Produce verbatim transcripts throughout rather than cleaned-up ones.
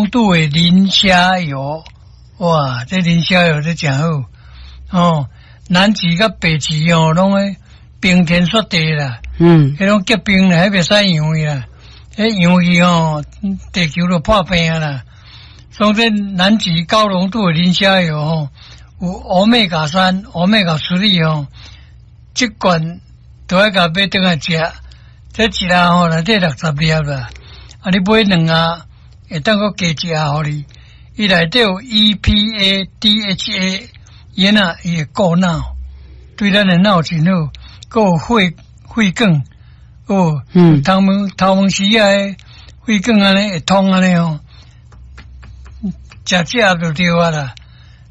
濃度的磷蝦油，哇，這磷蝦油這誠好哦。南極佮北極哦，攏咧冰天雪地啦，嗯，彼種結冰啦，彼袂使溶去啦，彼溶去吼，地球就破病啦。所以這南極高濃度的磷蝦油吼，有歐米伽三、歐米伽三吼，這罐都愛共買轉來食，這一盒吼內底六十粒啦，啊，你買兩盒會當閣加一盒予你。伊內底有 E P A、D H A，伊若伊會顧腦，對咱的腦真好，閣有血血管，哦，嗯，頭毛頭毛絲仔血管按呢會通按呢吼，食這盒就對啊啦。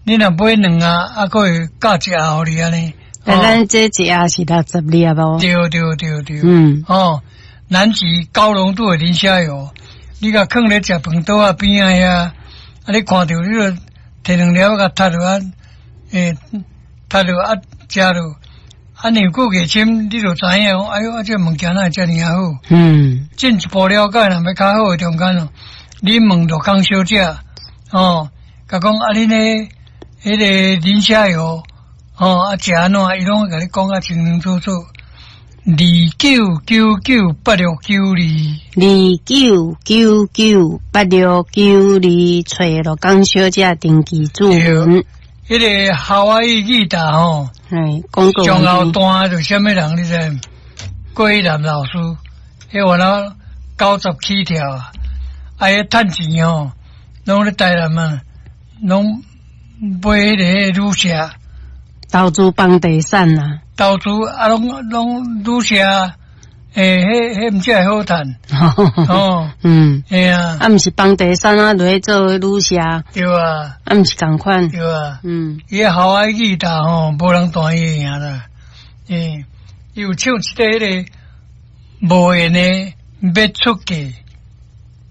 你若買兩盒，啊，閣會加一盒予你按呢。啊，咱這一盒是六十粒哦。對對對對。嗯。哦，南極高濃度的磷蝦油，你共囥咧食飯桌仔邊仔遐，啊，你看著你就提兩粒共踢落啊，欸，踢落啊，食落，啊，年久月深，你就知影講，哎喲，啊，這物件哪會遮爾仔好？嗯。進一步了解，若欲較好的中間哦，你問陸康小姐，哦，共講啊，恁咧彼個磷蝦油，哦，啊，食按怎，伊攏會共你講甲清清楚楚。二九九九八六九二，二九九九八六九二，揣陸江小姐登記注文。彼個夏威夷吉他吼，哎，廣告。上後彈就啥物人你知？郭一南老師，彼原來九十起跳啊，啊，彼趁錢吼，攏咧台南啊，攏買彼個旅社，投資房地產啊。投資啊，攏攏旅社，欸，彼彼毋才會好趁。哦，嗯，嘿啊，啊，毋是房地產啊，落去做旅社。對啊，啊，毋是仝款。對啊，嗯，伊個夏威夷吉他吼，無人彈伊會贏啦。欸，伊有唱一個彼個無緣的欲出嫁。